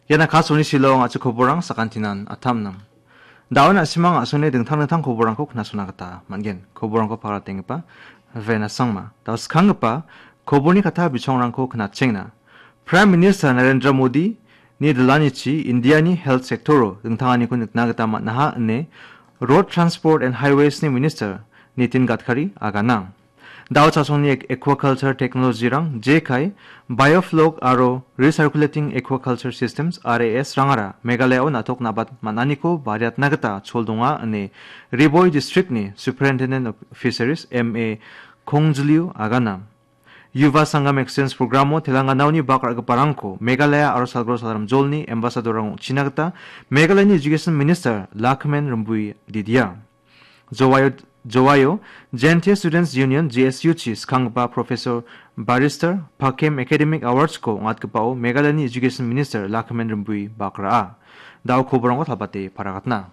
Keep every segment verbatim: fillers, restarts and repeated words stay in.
Ian Akashvani Shillong a·chik koborang sakantinan atamnang. Daun a·simang a·songni dingtang dingtang koborangko knasona gita man·gen. Koborangko pagatenggipa Vena Sangma. Dao skanggipa koborni kata bichongrangko knatchengna. Prime Minister Narendra Modi ni dilanichi Indiani health sector-o dingtanganiko nikna gita man·aha ine Road Transport and Highways-ni Minister Nitin Gadkari agana. Dao chasongni ek-, aquaculture technology-rang jekai, biofloc aro recirculating aquaculture systems, R A S, rangara Meghalaya-o na·tok nabat man·aniko bariatna gita chol donga ine Ri Bhoi District-ni Superintendent of Fisheries, M A Khongjliu agana. Yuva Sangam Exchange Program-o Telanganaoni bak ra·giparangko Meghalaya aro Salgro Salamjolni ambassador-rang ong·china gita Meghalayani Education Minister Lakhmen Rymbui didia. Jowaio, Jowaio Jaintia Students Union, J S U-chi skanggipa Professor Barrister Pakem Academic Awards-ko ong·atgipao Meghalayani Education Minister Lakhmen Rymbui bak ra·a. Dao koborangko talbate paragatna.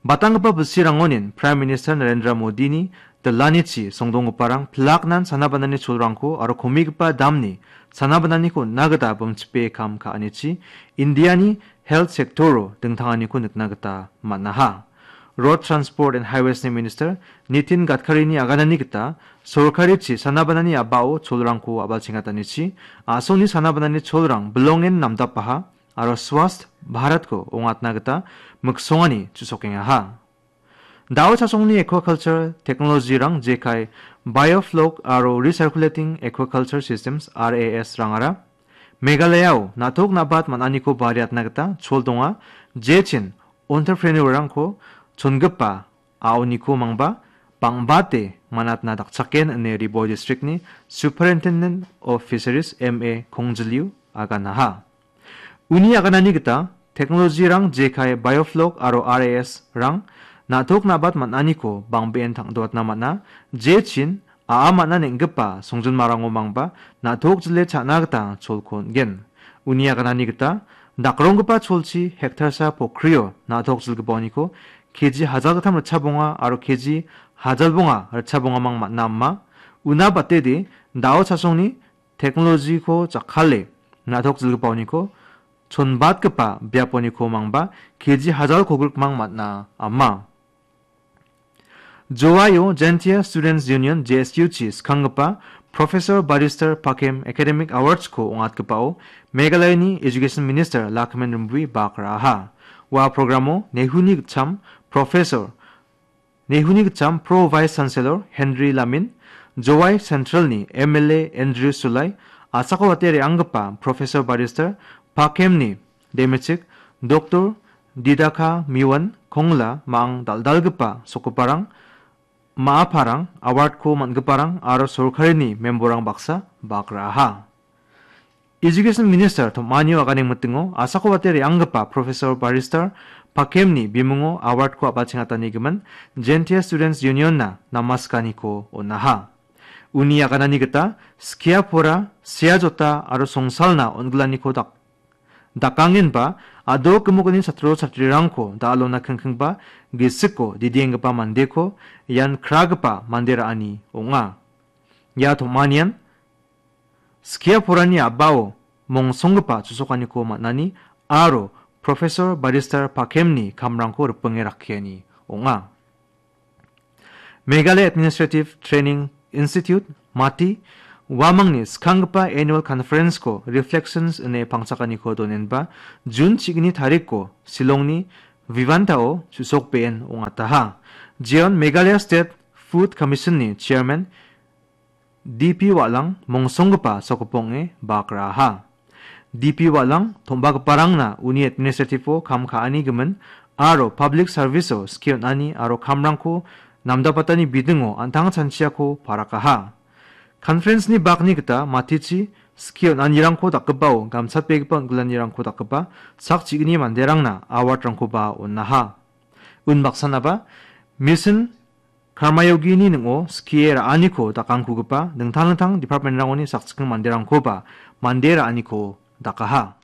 Batanggipa bilsirangonin Prime Minister Narendra Modini dilanichi songdonggiparang pilaknan sana banani cholrangko aro komigipa damni sana bananiko on·na gita bimchipe kam ka·anichi Indiani health sector-o dingtanganiko nikna gita man·aha. Road Transport and Highways-ni Minister Nitin Gadkarini aganani gita sorkarichi sana banani a·bao cholrangko a·balchengatanichi a·songni sana banani cholrang bilongen namdapaha aro Swasth Bharatko ong·atna gita miksongani chu·sokengaha. Dao chasongni aquaculture technology-rang jekai biofloc aro recirculating aquaculture systems, R A S, rangara Meghalaya-o na·tok nabat man·aniko bariatna gita chol donga, jechin entrepreneur-rangko chongipa a·oniko mangba bang·bate man·atna dakchaken ine Ri Bhoi District-ni Superintendent of Fisheries, M A Khongjliu aganaha. Uni aganani gita technology-rang jekai biofloc aro R A S-rang na·tok nabat man·aniko bang·been tang·doatna man·a, jechin a·a man·a neng·gipa songjinmarango mangba na·tok jile cha·na gita cholko on·gen. Uni aganani gita dakronggipa cholchi hektarsa pokrio na·tok jilgipaoniko K G hajalgittam ritchabonga aro K G hajalbonga ritchabongamang man·a ama. Una batede dao chasongni technology-ko jakkale na·tok jilgipaoniko chonbatgipa biaponiko mangba K G hajal kogrikmang man·a ama. Jowaio Jaintia Students Union, J S U-chi skanggipa Professor Barrister Pakem Academic Awards-ko ong·atgipao Meghalayani Education Minister Lakhmen Rymbui bak ra·aha. Ua programo Nehuni gitcham Professor Nehuni gitcham Pro Vice Chancellor Henry Lamin, Jowai Central-ni M L A Andrew Sulai, asako wate re·anggipa Professor Barrister Pakemni demechik Doctor Didaka Miwan Kongla ma·ang dal·dalgipa sokoparang, ma·aparang, award-ko man·giparang aro sorkarini memborrang baksa bak ra·aha. Education Minister tom·anio aganeng mitingo asako wate re·anggipa Professor Barrister Pakemni bimungo award-ko a·balchengatanigimin Jaintia Students Union-na namaskaniko on·aha. Uni aganani gita skia pora, sea jota aro songsalna on·gilaniko dak-, dakangenba a·dok gimokni chatro chatrirangko da·alona kingkingba gisiko didienggipa mandeko ian kragipa mande ra·ani ong·a. Ia tom·anian skia porani a·bao mongsonggipa chusokaniko man·ani aro Professor Barrister Pakemni kamrangko ripinge rakkiani ong·a. Meghalaya Administrative Training Institute, MATI, uamangni skanggipa Annual Conference-ko Reflections ine pangchakaniko donenba June chigni tarikko Shillongni Vivanta-o chu·sokbeen ong·ataha. Jeon Meghalaya State Food Commission-ni Chairman D P Walang mongsonggipa sokopong·e bak ra·aha. D P Walang tom·bagiparangna uni administrative-o kam ka·ani gimin aro public service-o skie on·ani aro kamrangko namdapatani bidingo an·tang chanchiako parakaha. Conference-ni bakni gita matichi skie on·anirangko dakgipao gamchatbegipa on·gilanirangko dakgipa sak chigni manderangna award-rangkoba on·aha. Unbaksanaba Mission Karmayogini ning·o skie ra·aniko dakangkugipa dingtang dingtang department-rangoni sakchikgni manderangkoba mande ra·aniko dakaha.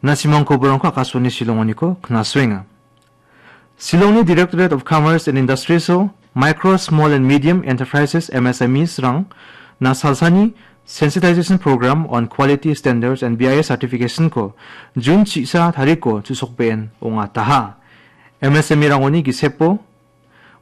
Na·simang koborangko Akashvani Shillongoniko knasoenga. Shillongni Directorate of Commerce and Industries-o Micro, Small and Medium Enterprises, M S M Es-rangna salsani Sensitization Program on Quality Standards and B I S Certification-ko June chisa tariko chusokbe·en ong·ataha. M S M E-rangoni gisepo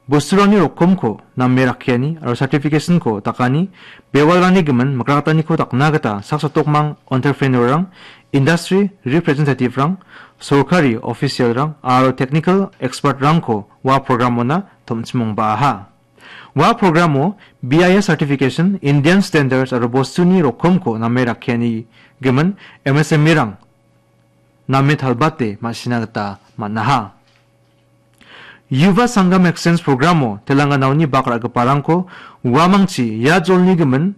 bosturangni rokomko name rakkiani aro certification-ko dakani bewalrangni gimin mikrataniko dakna gita sak sotokmang entrepreneur-rang, industry representative-rang, sorkari official-rang aro technical expert-rangko ua program-ona tom·chim ong·baaha. Ua program-o B I S certification, Indian standards aro bostuni rokomko name rakkiani gimin M S M E-rang name talbate ma·sina gita man·aha. Yuva Sangam Exchange Program-o Telanganaoni bak ra·giparangko uamangchi ia jolni gimin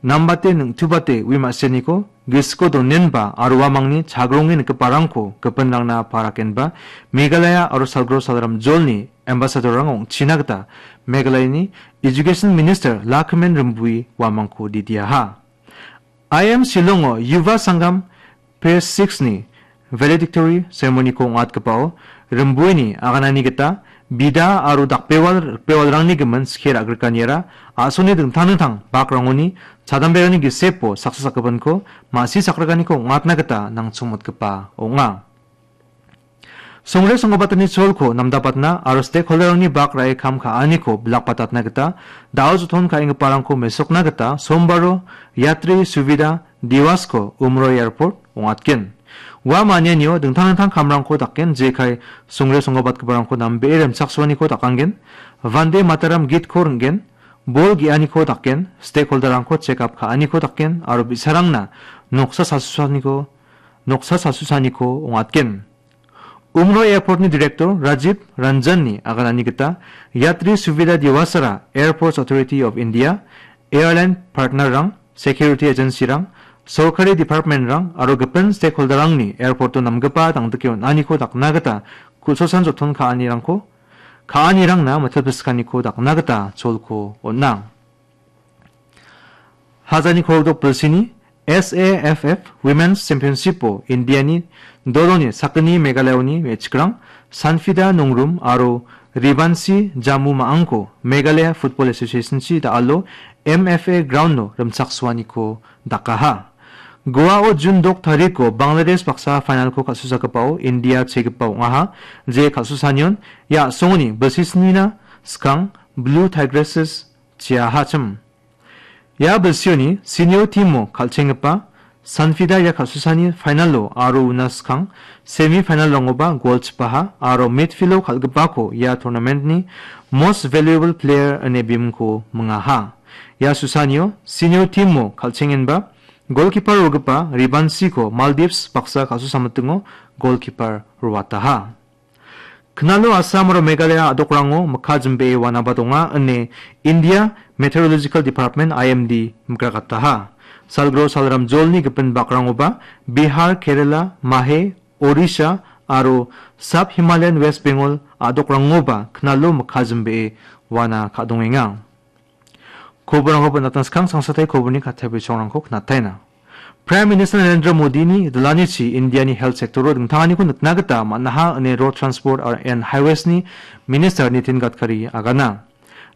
nambate ningtubate ui ma·seniko gisiko donenba aro uamangni chagronge nikgiparangko gipinrangna parakenba Meghalaya aro Salgro Salram jolni ambassador-rang ong·china gita Meghalayani Education Minister Lakhmen Rymbui uamangko didiaha. I M Shillongo Yuva Sangam Phase six-ni valedictory ceremony-ko ong·atgipao Rymbuini aganani gita bida aro dakbewal rikbewalrangni gimin skie ra·grikaniara a·songni dingtang dingtang bakrangoni chadamberangni gisepo saksa sakgipinko ma·si sakrikaniko ong·atna gita nangchongmotgipa ong·a. Songre songgabatani cholko namdapatna aro stakeholder-rangni bak ra·e kam ka·aniko bilakbatatna gita da·o joton ka·enggiparangko mesokna gita sombaro Yatri Suvida Diwas-ko Umroi Airport ong·atgen. Ua manianio dingtang dingtang kamrangko dakgen, jekai songre songgabatgiparangko nambee rimchaksoaniko dakanggen, Vande Mataram gitko ring·gen, bol ge·aniko dakgen, stakeholder-rangko check up ka·aniko dakgen aro bi·sarangna noksa salsusaniko, noksa salsusaniko ong·atgen. Umroi Airport-ni Director Rajiv Ranjan-ni aganani gita Yatri Suvida Diwasara Airports Authority of India, airline partner-rang, security agency-rang, sorkari department-rang aro gipin stakeholder-rangni airport-o namgipa dangdike on·aniko dakna gita ku·sosan joton ka·anirangko, ka·anirangna mitilpiskaniko dakna gita cholko on·a. Hajani kolgrikdok bilsini S A F F Women's Championship-o Indiani doloni sakgni Meghalayaoni me·chikrang Sanfida Nongrum aro Ribansi Jamu Ma·angko Meghalaya Football Association-chi da·alo M F A ground-o rimchaksoaniko dakaha. Goa-o June dok tariko Bangladesh baksa final-ko kal·susagipao India chegipa ong·aha. Je kal·susanion ia a·songoni bilsisnina skang Blue Tigresses chiahachim. Ia bilsioni senior team-o kal·chenggipa Sanfida ia kal·susani final-o aro una skang semi final-rangoba gol chipaha aro midfield-o kal·gipako ia tournament-ni most valuable player ine bimingko mingaha. Ia susanio senior team-o kal·chengenba golkipa rogipa Ribansiko Maldives baksa kal·susamitingo golkipa roataha. Knalo Assam aro Meghalaya a·dokrango mikka jimbee wanaba donga ine India Meteorological Department, I M D, mikrakataha. Salgro salram jolni gipin bakrangoba Bihar, Kerala, Mahe, Odisha aro Sub Himalayan West Bengal a·dokrangoba knalo mikka jimbee wana ka·dongenga. Koborangko bonatna skang sangsatai koborni katta bisongrangko knataina. Prime Minister Narendra Modini dilanichi Indiani health sector-o dingtanganiko nikna gita man·aha ine Road Transport and Highways-ni Minister Nitin Gadkari agana.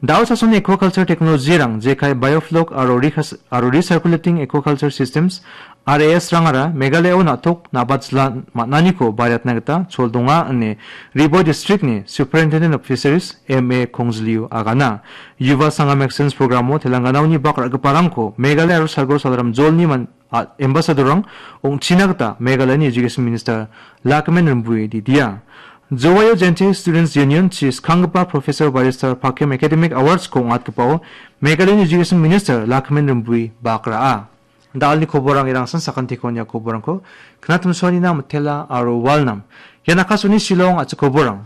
Da·o chasoni aquaculture technology-rang jekai biofloc aro recirc-, aro recirculating aquaculture systems, R A S-rangara Meghalayao na·tok nabat jila man·aniko bariatna gita chol donga ine Ri Bhoi District-ni Superintendent of Fisheries M A Khongjliu agana. Yuva Sangam Exchange Program-o Telanganaoni bak ra·giparangko Meghalaya aro Salgro Salram jolni man-, a-, ambassador-rang ong·china gita Meghalayani Education Minister Lakhmen Rymbui didia. Jowayo Jaintia Students Union-chi skanggipa Professor Barrister Pakem Academic Awards-ko ong·atgipao Meghalayani Education Minister Lakhmen Rymbui bak ra·a. Da·alni koborang irangsan sakantiko nia koborangko knatimsoanina mitela aro walnam. Ian Akashvani Shillong a·chik koborang.